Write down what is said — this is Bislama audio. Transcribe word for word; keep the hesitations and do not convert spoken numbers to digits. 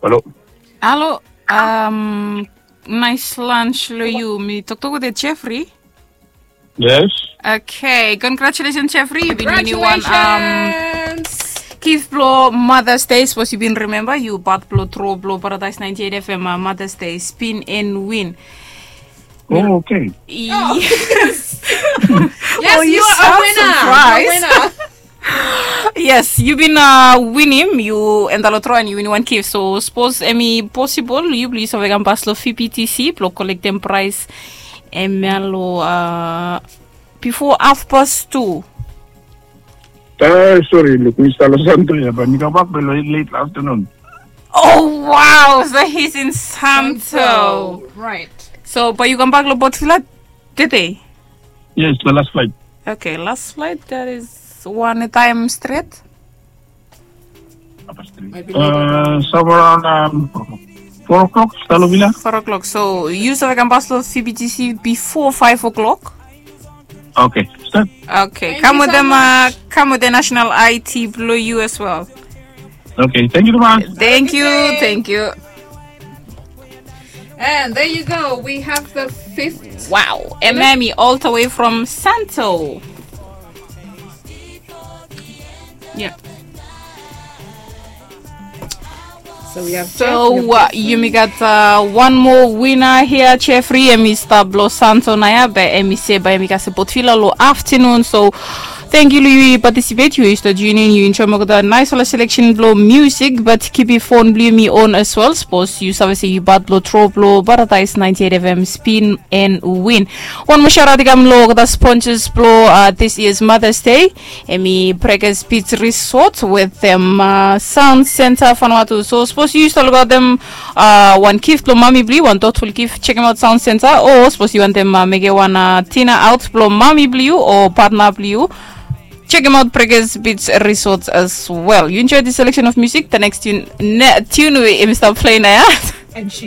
Halo. Halo. Um, nice lunch lo yu. Mi toktok wetem Jeffrey. Yes. Okay, congratulations, Jeffrey. You've been winning one um, gift blo Mother's Day. Suppose you been remember you bought blo tro blo Paradise ninety-eight F M uh, Mother's Day spin and win. Oh, okay. Yes. Yes, oh, you are a winner. Yes, you bin uh, win him. You and the lotro and you win one gift. So suppose emi possible you please have a bas lo F B T C blo collect them prize. Emi lo uh, before half past two. Eh, sorry, look, Mister Losanto ya, but mi kambak belo late afternoon. Oh wow, so he's in Santo. Santo. Right. So, but you kambak lo Port Vila today? Yes, the last flight. Okay, last flight, that is one time straight. Uh, somewhere around um, four o'clock, Salovila. Four o'clock. So you save kambas lo F B T C before five o'clock. Okay, start. Okay, come with them. Uh, come with the national I T blo you as well. Okay, thank you so much. Thank you, thank you. And there you go. We have the fifth. Wow, Ememi all the way from Santo. Yeah. So, we have so uh, yumi gat uh, one more winner here, Jeffrey. Emi stap blo Santo naya, be emi se ba emi gat support fila lo afternoon. So, thank you, Louis, participate. You used to tune in. You enjoy more the nice selection blo music, but keep your phone blo me on as well. Suppose you save say you bad blo tro blo Paradise ninety-eight F M spin and win. One more shout out kam lo the sponsors blo uh, this year's Mother's Day. Emi Breakers Beach Resort with them uh, Sound Center Vanuatu. So suppose you still got them uh, one gift blo mami blo you, one thoughtful gift, check them out Sound Center. Or suppose you want them uh, make one uh, dinner out blo mami blo you or partner blo you. Check them out Breakers Beach Resort as well. You enjoy this selection of music. The next tune, ne, tune we emi stop playing now. And she's